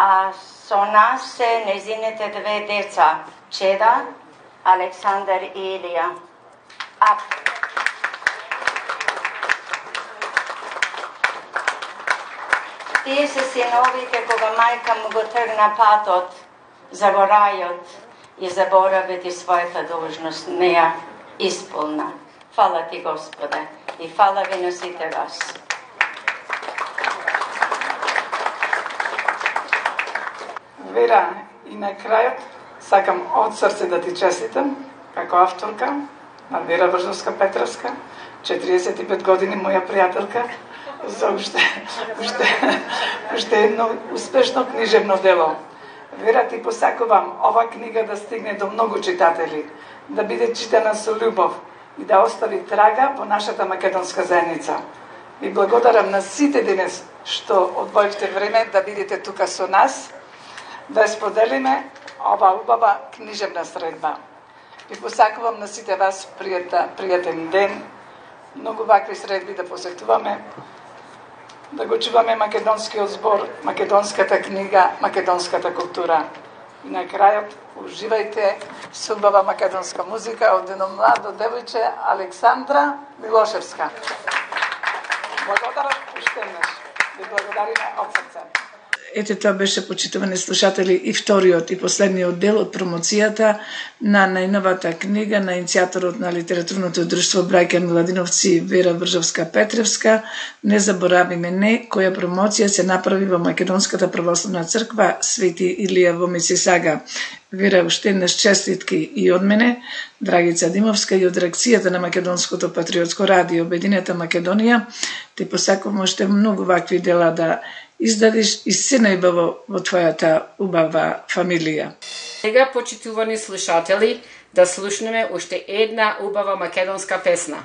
А со нас се незините две деца, Чеда, Александар и Илија. Тие се синовите кога мајка му го тргна патот за во рајот и заборави ти својата должност, не ја исполна. Фала ти, Господе, и фала ви на сите вас. Вера, и на крајот сакам од срце да ти честитам како авторка на Вера Вржовска-Петровска, 45 години моја пријателка, за уште едно успешно книжевно дело. Вера, ти посакувам ова книга да стигне до многу читатели, да биде читана со љубов и да остави трага по нашата македонска заедница. Ви благодарам на сите денес што одвоивте време да бидете тука со нас, да споделиме ова убава книжевна средба. Ви посакувам на сите вас пријатен ден, многу вакви средби да посетуваме, да го чуваме македонскиот збор, македонската книга, македонската култура. И на крајот, уживајте со убава македонска музика од едно младо девојче, Александра Милошевска. Благодарам уште еднаш. Ви благодариме од срце. Ете, тоа беше, почитувани слушатели, и вториот и последниот дел од промоцијата на најновата книга на иницијаторот на литературното друштво Браќа Миладиновци Вера Вржовска-Петровска, Не заборавиме не, која промоција се направи во Македонската православна црква Свети Илија во Мисисага. Вера, уште еднаш честитки и од мене, Драгица Димовска, и од редакцијата на Македонското патриотско радио Обединета Македонија. Те посакувам уште многу вакви дела да издадиш и се најбаво во твојата убава фамилија. Сега, почитувани слушатели, да слушнеме уште една убава македонска песна.